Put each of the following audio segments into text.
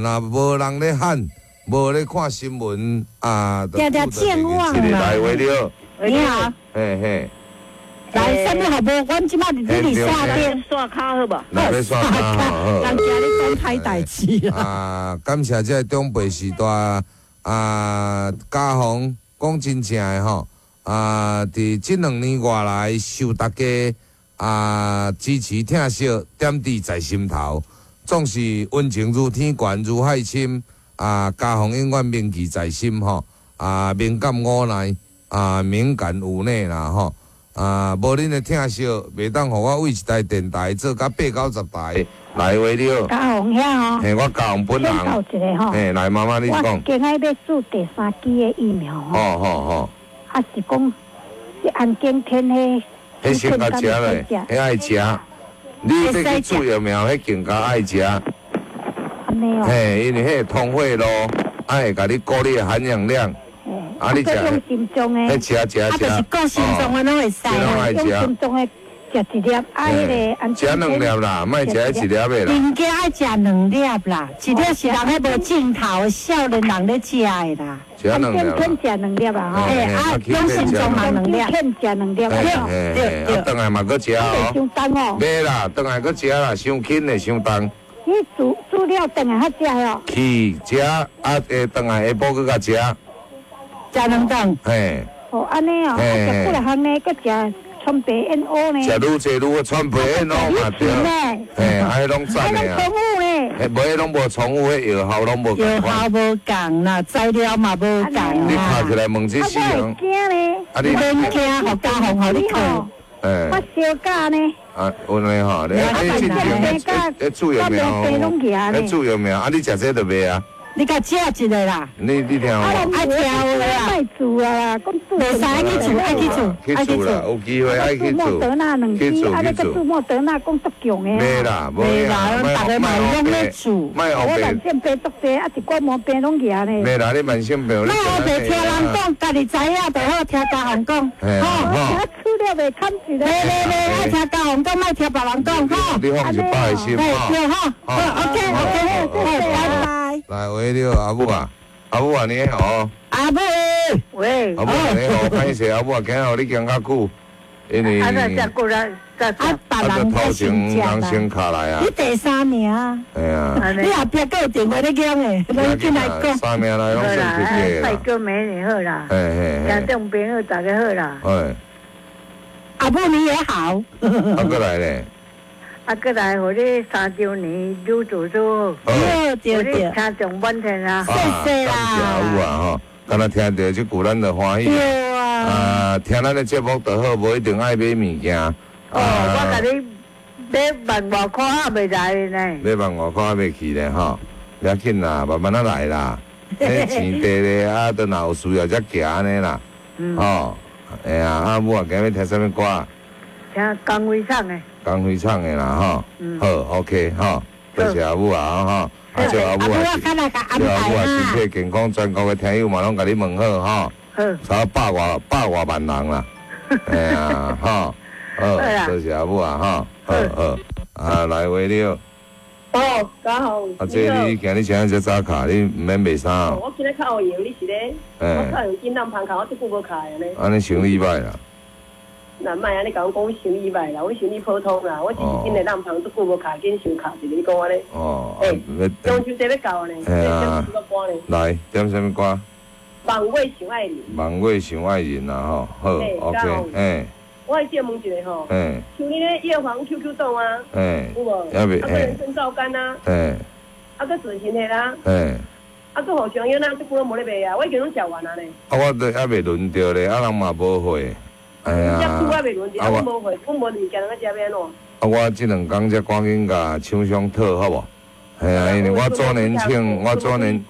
若無人咧喊，無咧看新聞啊，定定健忘啦。來話了，你好，嘿嘿，來，啥物好無？阮這擺佇你佇線頂，刷卡好無？來欲刷卡好。人驚你講歹代誌啦。啊，感謝這個長輩時代啊，家訪講真正的吼啊，佇這2年外來受大家啊支持疼惜，點滴在心頭，總是溫情如天懸，如海深啊，家訪永遠銘記在心吼啊，敏感無奈啊，敏感無奈啦吼啊，無恁的疼惜，袂當予我為一台電台做甲八九十台來話了。嘉宏遐吼，嘿，我嘉宏本人。請教一下吼。嘿，來媽媽你我講。今仔欲注第三劑的疫苗吼。吼吼吼。啊是講，這安檢天彼。彼先共食咧，彼愛食。你欲去注疫苗，彼更加愛食。按呢哦。嘿，因為彼會通血路，啊會共你顧你的含氧量。啊，你食。用心臟的。彼食食食。啊，就是顧心臟的攏會使。用心臟的食一粒，啊，彼个安食兩粒啦，莫食一粒的啦。應該愛食兩粒啦，一粒是人彼無鏡頭，少年人咧食的啦。食兩粒。天食兩粒啊！吼。嘿，啊，用心臟嘛兩粒。天食兩粒。對對。啊，轉來嘛閣食哦。傷重哦。袂啦，轉來閣食啦，傷輕的，傷重。你煮煮了轉來較食哦。去食啊，下轉來下晡閣共食。食兩頓。嘿。哦，按呢哦，啊，食幾若項呢，閣食川白燕窩呢。食愈濟愈好，川白燕窩嘛對。嘿，啊，彼攏讚的啊。彼攏重複呢。嘿，無彼攏無重複，彼藥效攏無仝款。藥效無仝啦，材料嘛無仝啦。你拍起來問這死人。啊，我會驚呢。啊，你免驚，予家鳳予你看。嘿。我燒假呢。啊，有呢吼，你你進前，咧注疫苗，咧注疫苗，啊，你食這就袂啊？你共食一个啦。你你聽無？愛聽話啦。莫注啊啦，講注。袂使愛去注，愛去注，去注啦，有機會愛去注。莫德納兩劑，啊，你閣注莫德納講足強的。袂啦，袂啦，逐个嘛攏咧注。莫我慢性病足濟，啊，一寡毛病攏夯咧。袂啦，你慢性病。莫烏白聽人講，家己知影就好，聽家人講。吼。注了袂堪一个。袂袂袂，愛聽家人講，莫聽別人講，吼。你放一百個心，對吼。好，OK OK，拜拜。來，喂，你好，阿母啊，阿母啊，你好。阿母，喂。阿母啊，你好，歹勢，阿母啊，今日予你行較久，因為啊，那過來，啊，別人頭前人先卡來啊。你第三名。嘿啊。你後壁閣有電話咧講的，攏進來講。三名來攏算客氣啦。拜哥美女好啦。嘿嘿嘿。聽眾朋友大家好啦。哎。阿母你也好。啊，閣來咧。啊，閣來，予你三週年愈做愈好。對對對。聽眾滿天啊！謝謝啦。感謝阿母啊吼，敢若聽著這句咱就歡喜。對啊。啊，聽咱的節目就好，無一定愛買物件。哦，我共你買萬外箍還袂來呢。買萬外箍還袂去呢吼，袂要緊啦，慢慢仔來啦。彼錢綴咧，啊，都若有需要才行按呢啦。吼，會啊，阿母啊，今日聽啥物歌？聽江蕙唱的。江蕙唱的啦，吼，好，OK，吼，多謝阿母啊，吼，啊，祝阿母啊，祝阿母啊，身體健康，全國的聽友嘛攏共你問好，吼，差百外萬人啦，哎呀，吼，好，多謝阿母啊，吼，好好，啊，來話了。哦，家好。啊，這你今日穿遮早卡，你毋免賣衫哦。我今日較有閒，你是咧？我較有緊挵芳卡，我這久無卡按呢。按呢生理䆀啦。那莫按呢共我講，生理䆀啦，我生理普通啦，我只是緊來挵芳，足久無卡，緊想卡一下，你講按呢？哦。欸，中秋節欲到呢，嘿啊。點什麼歌呢？來，點啥物歌？望月想愛人。望月想愛人啦，吼，好，OK，欸。我愛借問一下吼，像你咧藥房 QQ 凍啊，有無？啊，閣人參皂苷啊，啊，閣準心的啦，啊，閣好香藥啦，這久攏無咧賣啊，我已經攏食完啊咧。啊，我都猶未輪著咧，啊，人嘛無貨。哎呀，啊我無貨，阮無物件，通食欲按怎？啊，我這兩工才趕緊共廠商討好無？嘿啊，因為我周年慶，我周年，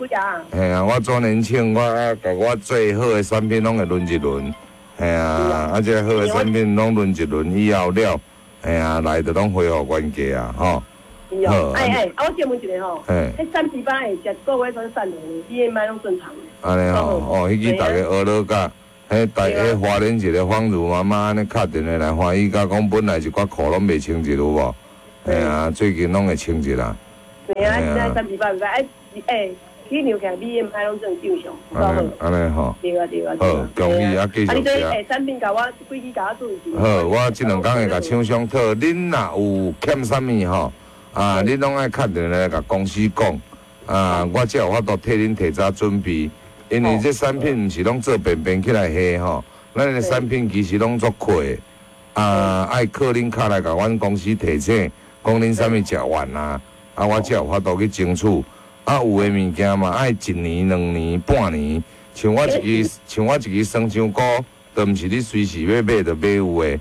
嘿啊，我周年慶，我啊，共我最好的產品攏會輪一輪。嘿啊，啊，這好的產品攏輪一輪以後了，嘿啊，來就攏恢復原價啊，吼。好，哎哎，啊，我借問一下吼，彼38會食個月算瘦落，BMI 攏正常。按呢吼，哦，彼支逐家學落甲，彼大彼花蓮一個芳如媽媽按呢敲電話來歡喜甲講，本來一寡褲攏袂穿一有無？嘿啊，最近攏會穿一啦。对啊，现在产品歹歹，哎哎，去量起来 BMI 攏算正常，有够好。按呢吼。对啊对啊。好，恭喜啊，继续食。啊，你这欸产品共我几支共我注意。好，我這兩工會共廠商討，恁若有欠啥物吼，啊，恁攏愛敲電話來共公司講，啊，我才有法度替恁提早準備，因為這產品毋是攏做便便起來下吼，咱的產品其實攏足闊，啊，愛靠恁敲來共阮公司提醒，講恁啥物食完啊，啊，我才有法度去爭取。啊，有的物件嘛，愛一年、兩年、半年，像我一支，像我一支酸漿菇，都毋是你隨時欲買就買有的。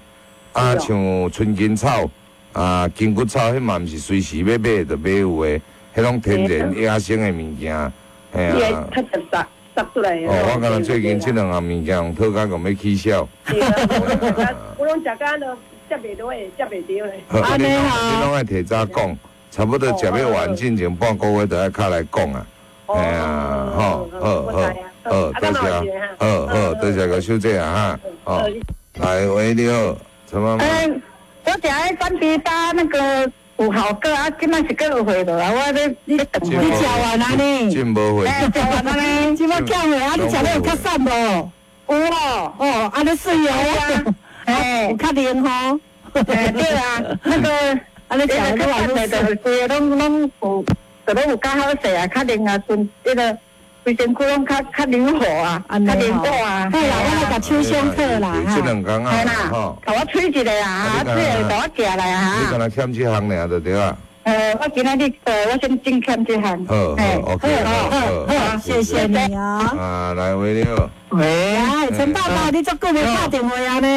啊，像春根草、啊筋骨草，彼嘛毋是隨時欲買就買有的，彼攏天然野生的物件，嘿啊。較直殺殺出來。哦，我敢若最近這兩項物件用套甲共欲起痟。對啊，我攏食甲都接袂到的，接袂著咧。好，你攏愛提早講。差不多食欲完進前半個月就愛敲來講啊，嘿啊，好，好，好，好，多謝，好好，多謝個小姐啊，哈，哦，來，喂，你好，陳媽媽。我食彼產品包那個有效果啊，這擺是閣有貨無啊？我咧你你食完啊呢？真無貨。食完啊呢？這擺欠貨啊？你食了有較瘦無？有哦，哦，按呢媠哦，哎，有較靈吼。對啊，那個。啊！你食較瘦的，就是規个攏攏有，就攏有較好勢啊，較靈啊，順彼個規身軀攏較較靈活啊，較靈活啊。好啦，我來共廠商討啦。這兩工啊，吼，共我催一下啊，催一下共我寄來啊。你敢若欠這項爾就對啊。我今仔日，我先真欠這項。好，好，OK，好，好，謝謝你啊。啊，來，喂，你好。喂，陳爸爸，你足久無敲電話啊呢？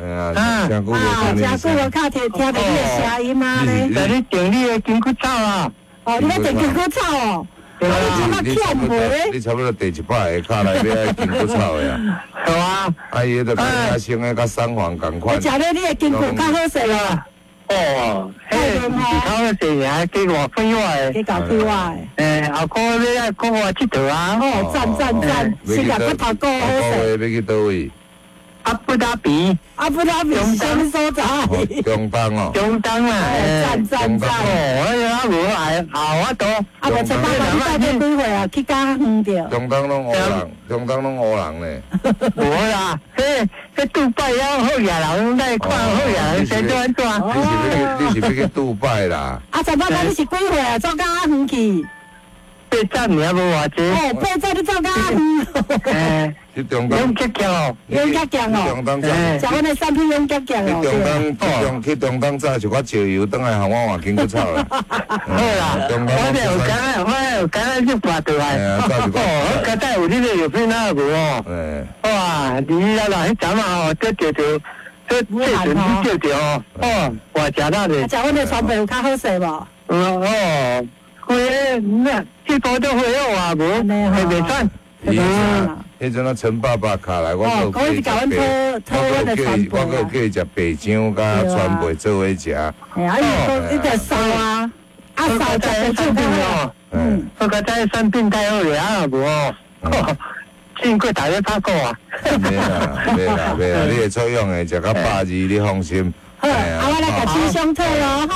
哎呀，真久無聽真久無敲聽聽著你的聲音啊呢。在你訂你的筋骨草啊？哦，你咧訂筋骨草哦？啊，你這麼欠無？你差不多第100個敲來欲愛筋骨草的啊？是啊。啊，伊彼個野生的，佮三黃仝款。食了你的筋骨較好勢啊？哦，彼毋是較好勢爾，加偌快活的，加夠快活的。欸，後個月愛國外𨑨迌啊。哦，讚讚讚，先共骨頭顧好勢。欲去佗位？阿布達比。阿布達比是啥物所在？中東哦。中東啊。讚讚讚。哦，我啊無來，後我都。啊，無陳爸爸，你到底幾歲啊？去較遠著。中東攏烏人，中東攏烏人咧。無啦，彼彼杜拜了好野人，來看好野人先做按怎？你是欲去杜拜啦？啊，陳爸爸，你是幾歲啊？走較遠去？八十爾無偌濟。哦，80你走較遠。欸。去中東。勇極強哦。勇極強哦。去中東早。食阮的產品勇極強哦。去中東，去中東早一寡石油，轉來予我換筋骨草啦。好啦，我就有感覺，我有感覺去跋倒來。哦，我剛才有你個藥品啊無哦。哇，你啊啦，彼陣啊吼，這著著，這這陣去照著哦，哦，哇，誠大咧。食阮的川貝有較好勢無？哦，規个那這波都恢復啊，無，會袂喘。彼陣啊，陳爸爸敲來，我閣叫伊食白，我閣叫伊食白漿佮川貝做伙食。哎啊，伊伊就瘦啊，啊瘦食白酒哦。嗯，我覺得產品太好了啊，無哦，經過大家拍過啊。袂啦，袂啦，袂啦，你會作用的，食到120，你放心。好，啊，我來共廠商討囉，吼。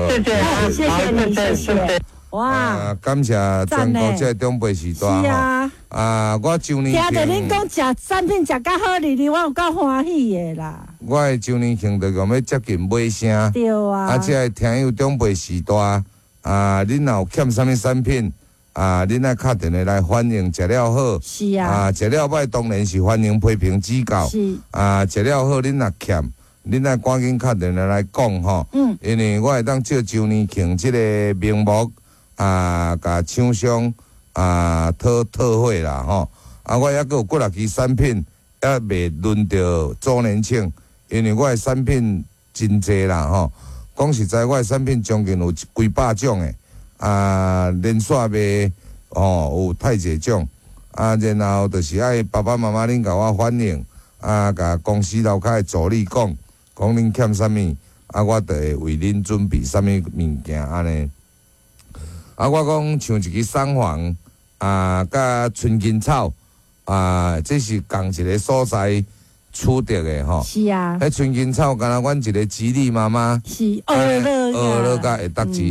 謝謝，謝謝你，謝謝。哇！感謝全國這個長輩時代吼。啊，我周年聽著恁講食產品食較好哩哩，我有夠歡喜的啦。我的周年慶就講欲接近尾聲。對啊。啊，這個聽友長輩時代，啊，恁若有欠啥物產品，啊，恁愛敲電話來反映，食了好。是啊。啊，食了歹當然是歡迎批評指教。是。啊，食了好，恁若欠，恁愛趕緊敲電話來講吼。嗯。因為我會當照周年慶這個名目。啊，共廠商啊討討貨啦吼！啊，我猶閣有幾若支產品，猶未輪著周年慶，因為我的產品真濟啦吼。講實在，我的產品將近有幾百種的，啊，連續賣吼有太濟種，啊，然後就是愛爸爸媽媽恁共我反映，啊，共公司樓跤的助理講，講恁欠啥物，啊，我就會為恁準備啥物物件按呢。啊，我講像一支桑黃啊，佮春根草啊，這是仝一個所在取得的吼。是啊。彼春根草，敢若阮一個姊弟媽媽。是學落。學落佮會得字，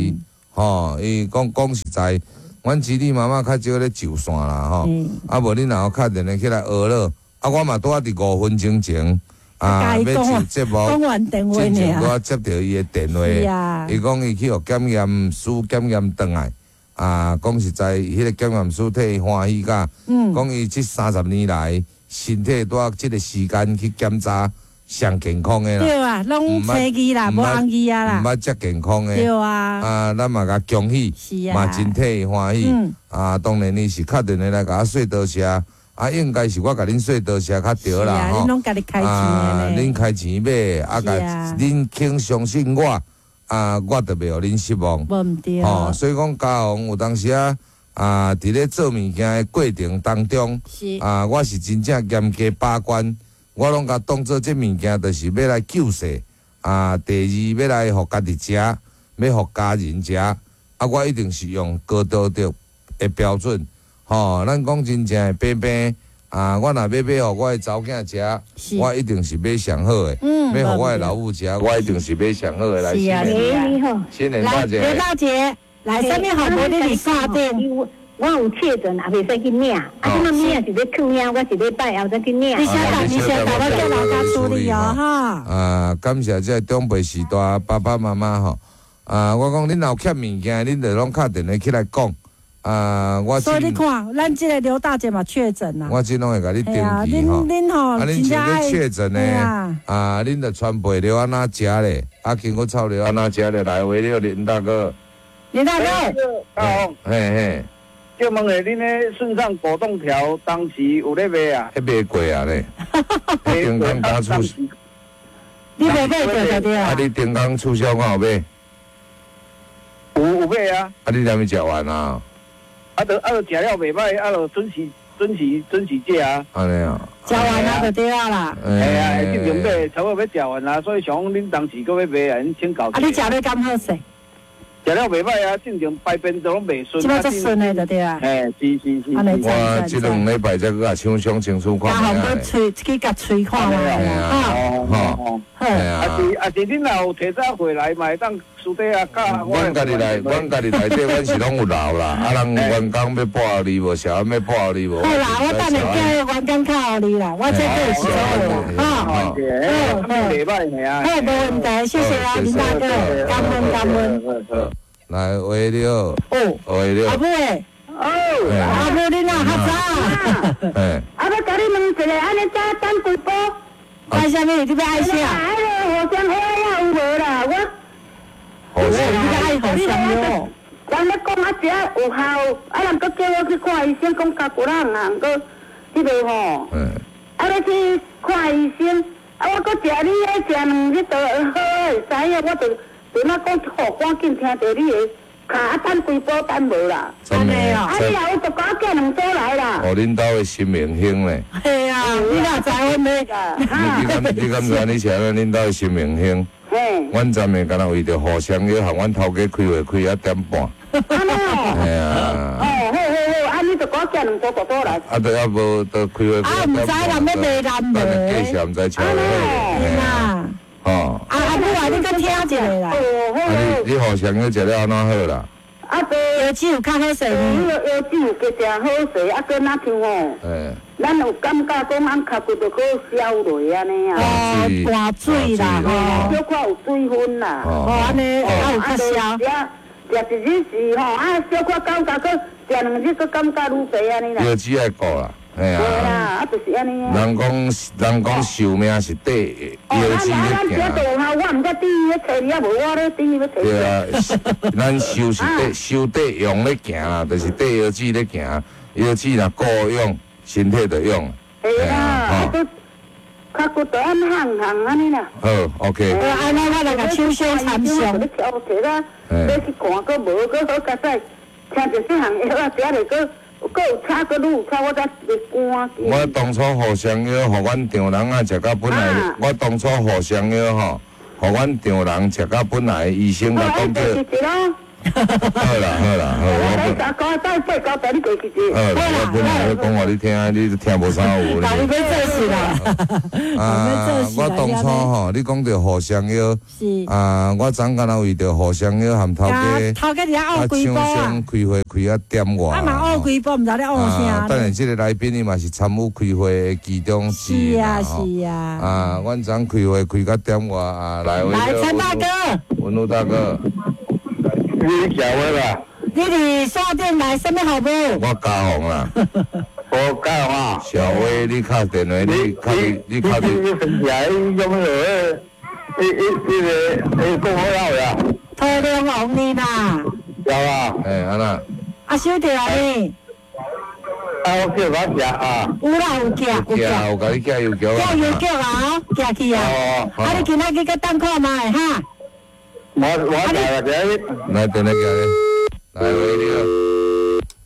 吼，伊講講實在，阮子女媽媽較少咧上線啦，吼。啊，無恁若有敲電話起來學了，啊，我嘛拄仔佇5分鐘前啊，欲上節目，進前拄仔接著伊的電話，伊講伊去予檢驗師檢驗轉來，啊，講實在，彼個檢驗師替伊歡喜甲，講伊這30年來身體拄仔這個時間去檢查。上健康的啦，對啊，攏青字啦，無紅字啊啦，毋捌遮健康的，對啊，啊，咱嘛共恭喜，嘛真替伊歡喜，啊，當然伊是敲電話來共我說多謝，啊，應該是我共恁說多謝較對啦，吼，恁攏家己開錢啊，恁開錢買，啊，共恁肯相信我，啊，我就袂予恁失望，無毋對，吼，所以講家宏有當時啊，啊，佇咧做物件的過程當中，啊，我是真正嚴格把關。我攏共當做這物件，就是欲來救世啊！第二，欲來予家己食，欲予家人食啊！我一定是用高道德的標準，吼！咱講真正的平平啊！我若欲買予我的查某囝食，我一定是買上好的；欲予我的老母食，我一定是買上好的來。是啊，新年大姐，劉大姐，來，啥物號碼你佇線頂？我有確診，也袂使去領。啊，這馬領是咧囥遐，我一禮拜後才去領。你稍等，你稍等，我叫老家處理哦，哈。啊，感謝這個長輩時代爸爸媽媽吼。啊，我講恁若有欠物件，恁就攏敲電話起來講。啊，我。所以你看，咱這個劉大姐嘛確診啦。我這攏會共你登記吼。恁恁吼，啊，恁像咧確診呢？啊，恁就傳媒著按怎食咧？啊，經過草著按怎食咧？來，為了林大哥。林大哥。嘿嘿。借問下，恁咧順暢果凍條當時有咧賣啊？彼賣過啊咧，頂工剛促，你袂買著就對啊。啊，你頂工促銷敢有買？有買啊。啊，你連未食完啊？啊，就食了袂歹，啊，就準時食啊。按呢啊。食完啊就對啊啦。係啊，正常買，差不多欲食完啊，所以想講恁當時閣欲賣啊，恁請教。啊，你食了敢好勢？食了袂歹啊，正常排便都攏袂順。這擺足順的就對啊。嘿，是。我這兩禮拜才閣共搶相清楚看覓啊。啊，喙去共喙看覓啊。吼。好。啊是，恁若有提早回來嘛，會當私底下教我。阮家己內，阮家己內底，阮是攏有留啦。啊，人員工欲報予你無？啥欲報予你無？好啦，我等下叫員工敲予你啦。我這個是做啦。哈。好。袂歹爾。好，無問題，謝謝啊，林大哥，感恩感恩。來，喂，你好。哦。喂，你好。阿母欸。哦。阿母，你哪較早？嘿。啊，欲共你問一下，按呢早等幾步？愛啥物？你欲愛啥？彼个互相喝仔有無啦？我。互相。你愛互相喲。人咧講啊，食有效，啊人閣叫我去看醫生，講尻骨仔毋通，閣彼个吼。啊，欲去看醫生，啊，我閣食你彼食兩日就好，會知影，我就。陣仔講吼，趕緊聽著你的，卡啊等幾步等無啦。真的啊！你若有就共我寄兩組來啦。哦，恁兜的新明星咧。係啊，你哪知阮咧？你敢知你是按怎恁兜的新明星？嘿。阮昨暝敢若為著互相約，予阮頭家開會開啊點半。按呢哦。係啊。哦，好好好，按呢就共我寄兩組大組來。啊，對啊，無就開會。啊，毋知人欲賣人無？繼續毋知超。啊。哦，啊阿母啊，你閣聽一下啦。哦，好。啊你互相去食了按怎好啦？啊，對，藥劑有較好勢無？藥劑有加誠好勢，啊，閣若像吼，咱有感覺講按尻骨就閣消落按呢啊。哦，掛水啦，吼，小可有水分啦。哦，按呢，啊有較消。食一日是吼，啊小可感覺閣食兩日閣感覺愈濟按呢啦。藥劑愛顧啦。對啊，啊就是按呢。人講壽命是綴腰子咧行。我毋知對伊咧揣你，無我咧對伊咧揣。對啊，咱壽是綴壽綴用咧行啦，就是綴腰子咧行，腰子若顧養，身體就養。對啊，啊，較骨就按行行按呢啦。好，OK。按呢我來共手相參詳。你挑提啦，欲去看，閣無，閣好佳哉，聽著這項藥啊，食咧閣。閣有差，閣愈有差，我才會趕緊。我當初互相藥，予阮丈人啊食到本來，我當初互相藥吼，予阮丈人食到本來，醫生共講叫。好啦好啦好，我讲再八九台你过去好啦，我本来咧讲话你听，你听无啥有。你欲做事啦。啊，我当初吼，你讲著互相约，啊，我昨敢若为著互相约含头家，头家伫遐学几步啊，开会开啊点外。啊嘛学几步，毋知咧学啥。当然，这个来宾伊嘛是参与开会的其中之一。是啊是啊。啊，阮昨开会开到点外啊，来。来，陈大哥。文路大哥。你食话啦？你伫线顶来啥物服务？我嘉宏啦。我嘉宏啊。小威，你敲电话，你敲你敲你。你分起来用那个，迄迄迄个，迄讲好了啦。土龙王呢啦。有啊。哎，安怎？啊，收著啊呢？啊，我叫我食啊。有啦，有寄，有寄，有共你寄邮局啊。寄邮局啊，寄去啊。啊，你今仔日阁等看觅哈？我来来来，电话寄咧，来喂你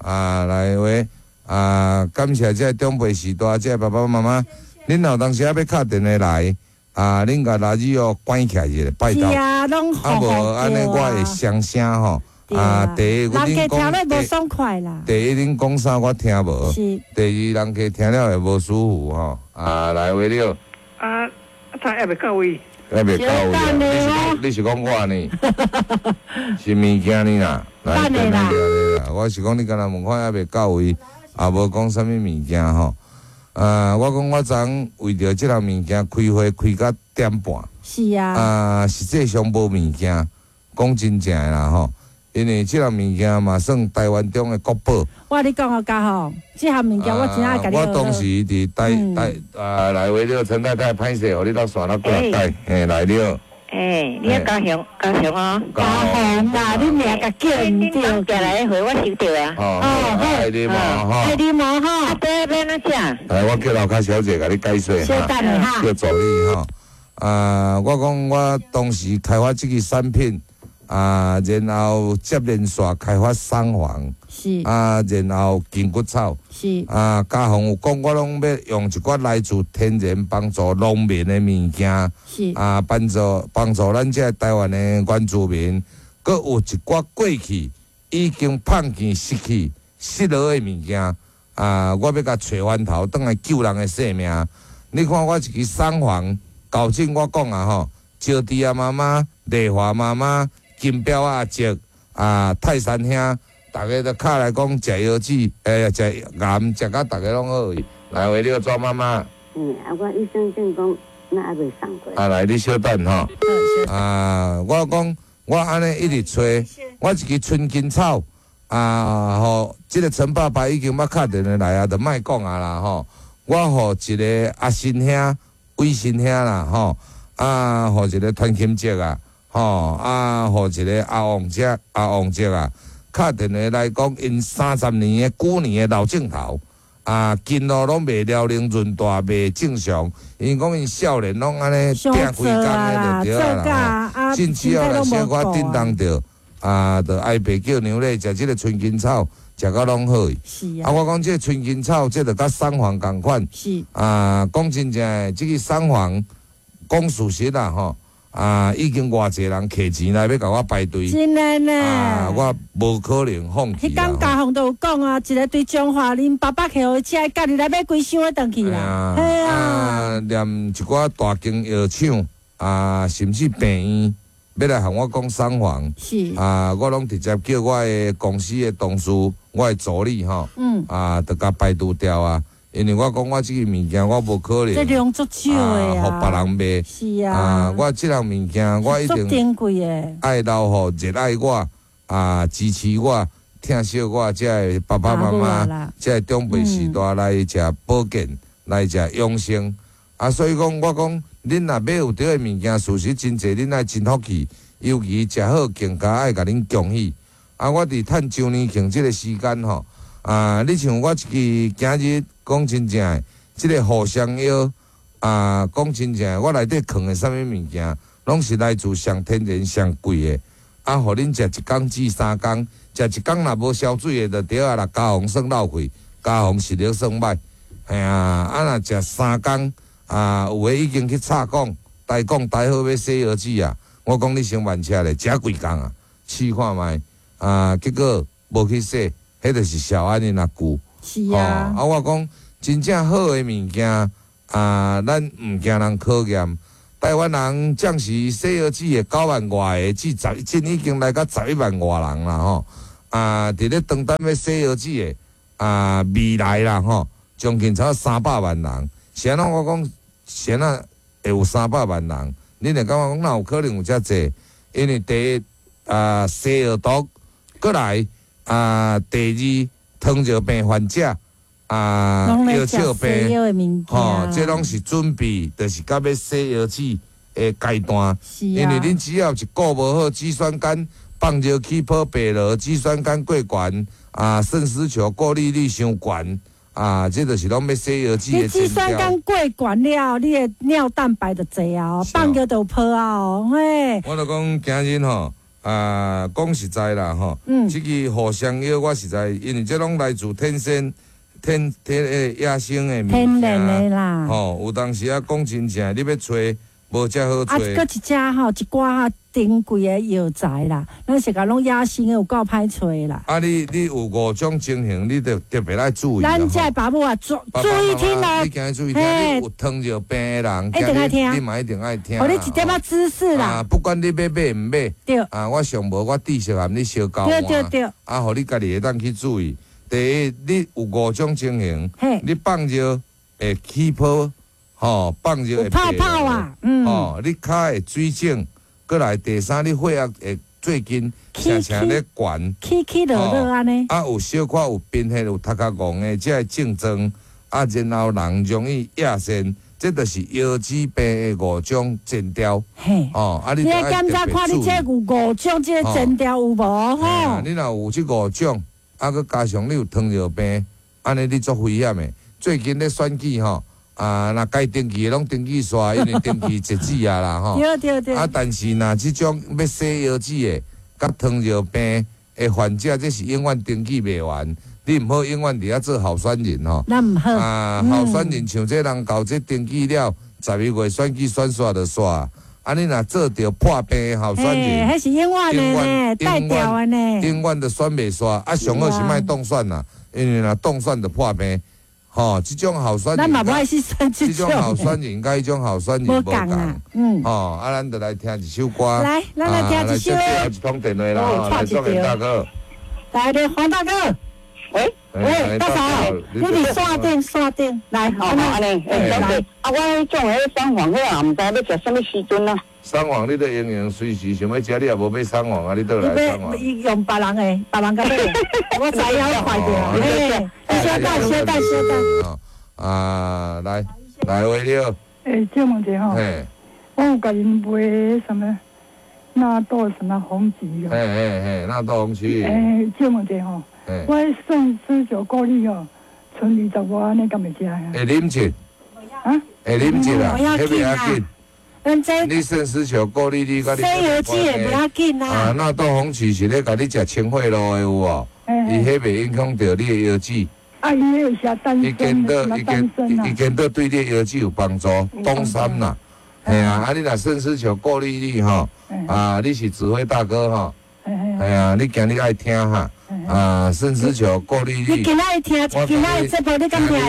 好，啊来喂，啊感谢这个长辈序大，这个爸爸妈妈，恁若有当时仔欲敲电话来，啊恁共垃圾哦关起来一下，拜托。是啊，拢啊无按呢我会伤声吼。啊，第一，人家听了无爽快啦。第一，恁讲啥我听无。是。第二，人家听了会无舒服吼。啊，来喂你好。啊，他还袂到位。还袂到位啊！你是讲我呢？是物件呢啦，来，来来啦！我是讲你敢若问看还袂到位，也无讲啥物物件吼。我讲我昨为著这项物件开会开到点半。是啊。啊，实际上无物件，讲真正的啦吼。因为这项物件嘛算台湾中的国宝。我你讲哦，嘉宏，这项物件我真爱共你。我当时伫台台啊，来话了，陈太太歹势，予你到线了过来带，嘿来了。欸，你嘉雄，嘉雄哦。嘉宏啦，你名共叫毋对。寄来的货我收著啊。哦，爱你无吼？爱你无吼？啊，对，欲按怎食？来，我叫楼跤小姐共你解说哈。小等下。叫助理吼。啊，我讲我当时开发这个产品。啊，然后接连续开发桑黄，是啊，然后筋骨草，是啊，嘉宏有讲，我拢欲用一寡来自天然帮助农民的物件，是啊，帮助帮助咱这台湾的原住民，阁有一寡过去已经放弃失去失落的物件，啊，我欲共揣翻头，转来救人的性命。你看我一支桑黄，厚正我讲啊吼，招娣啊妈妈，丽华妈妈。金彪阿叔啊，泰山兄，逐家都敲来讲食药剂，食盐，食甲逐家拢好去。来，喂，你个庄妈妈。嗯，啊，我医生证讲，那还袂送过。啊，来，你小等吼。啊，我讲，我按呢一直揣，我一支春根草，啊，予这个陈爸爸已经欲敲电话来啊，就莫讲啊啦吼。我予一个阿新兄、伟新兄啦吼，啊，予一个团金哲啊。吼啊，予一个阿旺姐、阿旺姐啊，敲电话来讲，𪜶30年的旧年的老镜头啊，筋路拢袂疗宁润大，袂正常。𪜶讲𪜶少年拢按呢拚规工的就对啊啦。甚至哦，来小可震动著啊，就哀爸叫娘咧食这个春根草，食到拢好。是啊。啊，我讲这个春根草，这就佮桑黄仝款。是。啊，讲真正的，这个桑黄讲事实啦吼。啊！已经偌济人摕钱来欲共我排队，真的呢。啊，我无可能放弃。彼工嘉宏都有讲啊，一个对彰化恁爸爸摕予伊食，家己来买几箱转去啦。系啊。啊，连一寡大间药厂啊，甚至病院，欲来向我讲桑黄。是。啊，我拢直接叫我的公司的同事，我的助理吼。嗯。啊，就共排除掉啊。因为我讲我这个物件我无可能，这量足少的啊，予别人卖。是啊，啊，我这项物件我一定珍贵的，爱留予热爱我啊，支持我、疼惜我这个爸爸妈妈，这个长辈序大来食保健，来食养生。啊，所以讲我讲，恁若买有对的物件，事实真济，恁爱真福气，尤其食好更加爱共恁恭喜。啊，我伫趁周年庆这个时间吼。啊！你像我一支今日讲真正的，这个互相药啊，讲真正的，我内底藏的啥物物件，拢是来自上天然、上贵的。啊，予恁食一工至三工，食一工若无消水的，就对啊啦。家防算落费，家防实力算歹。嘿啊，啊若食三工啊，有的已经去插管、台管、台好欲洗腰子啊。我讲你先慢车咧，食几工啊，试看觅。啊，結果無去洗，彼就是小安的若舊。是啊。啊，我講真正好的物件，啊，咱毋驚人考驗。台灣人暫時洗腰子的9萬外个，至十，真已經來到11萬外人啦吼。啊，佇咧當當欲洗腰子的，啊，未來啦吼，將近差300萬人。是按怎我講，是按怎會有300萬人？你會感覺講哪有可能有遮濟？因為第一啊，西藥毒，閣來啊，第二糖尿病患者啊，腰笑病，吼，這攏是準備，就是到欲洗腰子的階段。因為恁只要一顧無好，肌酸酐放尿起泡白羅，肌酸酐過懸，啊，腎絲球過濾率傷懸。啊，這就是攏欲洗腰子的。你肌酸酐過懸了，你的尿蛋白就濟啊，放尿就有泡啊哦，嘿。我就講今日吼，啊，講實在啦吼，這個互相藥我實在，因為這攏來自天生、天天的野生的物件，天然的啦。吼，有當時啊講真正，你欲揣無遮好揣。啊，閣一隻吼，一寡珍貴的藥材啦，咱是共攏野生的，有夠歹揣啦。啊，你有5種情形，你就特別愛注意。咱這爸母啊，注意聽咯。你今日注意聽，你有糖尿病的人，一定愛聽。你嘛一定愛聽。予你一點仔知識啦。啊，不管你欲買毋買，對。啊，我上無我知識含你相交換。對對對。啊，予你家己會當去注意。第一，你有5種情形，你放尿會起泡。吼，放尿會泡泡啊，吼，你跤會水腫，閣來第三，你血壓會最近常常咧懸，起起落落按呢。啊，有小可有貧血、有頭殼戇的這个症狀，啊，然後人容易壓線，這就是腰子病的5種徵兆。嘿，哦，啊，你檢查看你這有5種這个徵兆有無吼？你若有這5種，啊，閣加上你有糖尿病，按呢你足危險的。最近咧選舉吼。啊，若該登記的攏登記煞，因為登記截止啊啦吼。對對對。啊，但是若這種欲洗腰子的，佮糖尿病的患者，這是永遠登記袂完。你毋好永遠佇遐做候選人吼。咱毋好。啊，候選人像這人到這登記了，11月選舉選煞就煞。啊，你若做著破病的候選人，彼是永遠的呢，帶掉的呢。永遠都選袂煞。啊，上好是莫當選啦，因為若當選就破病。吼，這種候選人，咱嘛無愛去選這種候選人，佮彼種候選人無仝。嗯。吼，啊，咱就來聽一首歌。來，咱來聽一首。來，一通電話啦，來，宋大哥。來，黃大哥。喂喂，大嫂，你佇山頂山頂，來，好，按呢，小姐，啊，我彼種彼三黃，我也毋知欲食啥物時陣啊。三黃，你著營養隨時想欲食，你也無買三黃啊，你倒來三黃。伊用別人的，別人共買，我知影，我看著。嘿，小等，小等，小等。啊，來，來，喂，你好。欸，借問一下吼，我有共𪜶買啥物納豆什麼紅曲哦。嘿嘿嘿，納豆紅曲。欸，借問一下吼，我腎絲球過濾吼，賰20外按呢敢會食啊？會啉一？啊？會啉一啦，彼袂要緊。你腎絲球過濾，你洗腰子的袂要緊啦。啊，納豆紅曲是咧共你食清血露的有無？伊彼袂影響著你的腰子。啊，伊彼有寫丹參，伊見到對你的腰子有幫助，東山啦，嘿啊，啊你若腎絲球過濾你吼，啊你是指揮大哥吼，嘿啊，你今日愛聽哈，啊腎絲球過濾你今仔聽，今仔這部你敢聽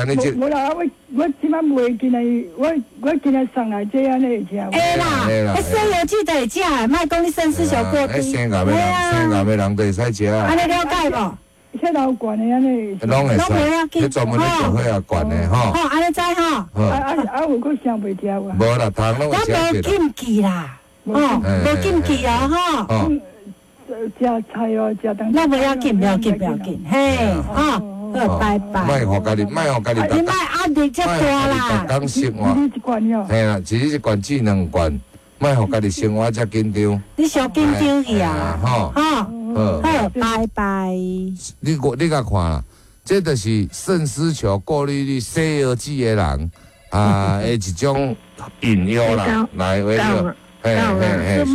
會著？無啦，我這擺袂今日，我今日送來這按呢會食。會啦，彼洗腰子就會食，莫講你腎絲球過低。生癌的人，生癌的人就會使食。按呢了解無？血壓懸的按呢，攏會使，彼專門咧做血壓懸的吼。吼，按呢知吼。啊有閣啥袂食無？無啦，通攏會食。咱無禁忌啦，吼，無禁忌哦，吼。食菜哦，食當。咱袂要緊，不要緊，不要緊，嘿，吼，好，拜拜。莫予家己，莫予家己。你莫壓力遮大啦。逐工生活。嘿啦，一日一罐至兩罐，莫予家己生活遮緊張。你傷緊張去啊？吼。好，拜拜。你共看啦，這就是腎絲球過濾率洗腰子的人啊，的一種引誘啦，來，喂，嘿嘿嘿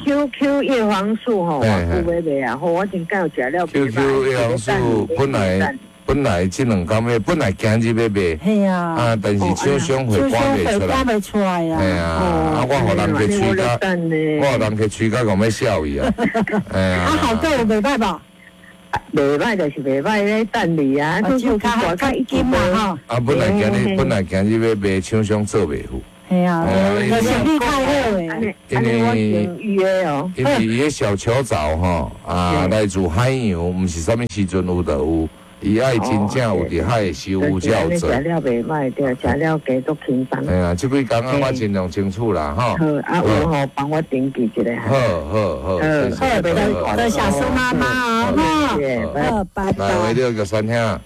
，QQ 葉黃素吼，我有買袂啊？吼，我真敢有食了。 QQ 葉黃素本來本来這兩工欲，本來今日欲賣，係啊，啊，但是廠商貨趕袂出來，趕袂出來啊，係啊，啊，我予人家吹甲，我予人家吹甲講欲笑伊啊，係啊，啊，好個有袂歹無？袂歹就是袂歹咧，等你啊，只有較較緊嘛吼。啊，本來今日欲賣，廠商做袂赴。係啊，就是你較好的，因為伊个小球藻吼啊，來自海洋，毋是啥物時陣有就有。伊愛真正有佇海的收有才有做。食了袂歹，對，食了加足輕鬆。哎呀，這幾工啊，我盡量爭取啦，吼。好，啊有吼，幫我登記一下。好好好，謝謝。多謝蘇媽媽哦，好，拜拜。來，為了玉山兄。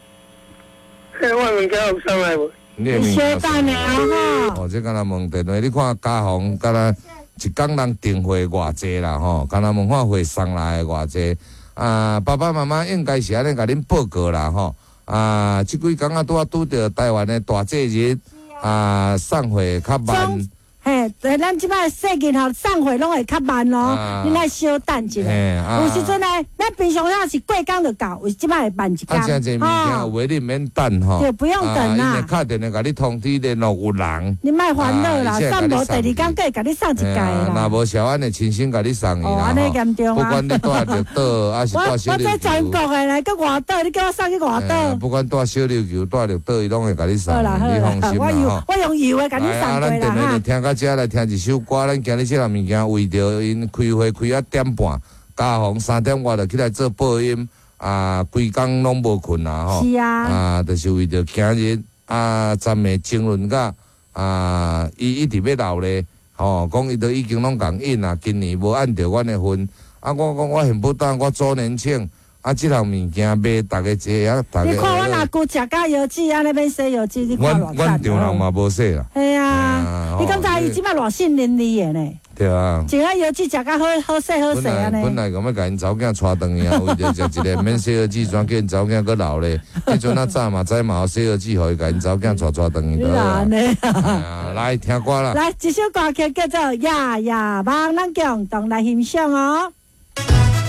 嘿，我物件有送來無？你小等下吼。哦，這敢若問電話，你看家訪，敢若一工人訂貨偌濟啦，吼，敢若問看貨送來偌濟。啊，爸爸媽媽應該是按呢共恁報告啦，吼！啊，這幾工啊，拄仔拄著台灣的大節日，啊，送貨較慢。嘿，咱這擺細囡仔送貨攏會較慢哦，恁愛小等一下。有時陣呢，咱平常時是過工就到，有這擺會慢一工。啊，誠濟物件有的你毋免等吼。對，不用等啦。伊會敲電話共你通知聯絡有人。你莫煩惱啦，送無第二工閣會共你送一屆啦。若無小安會親身共你送去啦。哦，按呢嚴重啊！不管你住綠島，還是住小琉球。我這全國的來，閣外島，你叫我送去外島。不管住小琉球、住綠島，伊攏會共你送。你放心啦吼。我用郵的共你送過啦。聽到這來聽一首歌，咱今日這項物件為著𪜶開會開啊點半，加防3點外就起來做播音，啊，規工攏無睏啊吼。是啊。啊，就是為著今日啊，昨暝爭論甲啊，伊一直欲留咧，吼，講伊都已經攏共印啊，今年無按著阮的份，啊，我講我恨不得我周年慶。啊！這項物件賣，逐家坐啊，逐家。你看阮阿舅食甲藥劑，按呢免洗藥劑，你看偌阮丈人嘛無洗啦。係啊，你感覺伊這擺偌信任你的呢？對啊。食啊藥劑食甲好好勢好勢按呢。本來講欲共𪜶查某囝帶轉去啊，為著食一个免洗藥劑，怎叫𪜶查某囝閣留咧？彼陣啊早嘛知嘛有洗藥劑，予伊共𪜶查某囝帶轉去得啊。啊，來聽歌啦。來，這首歌曲叫做《夜夜夢》，咱共同來欣賞哦。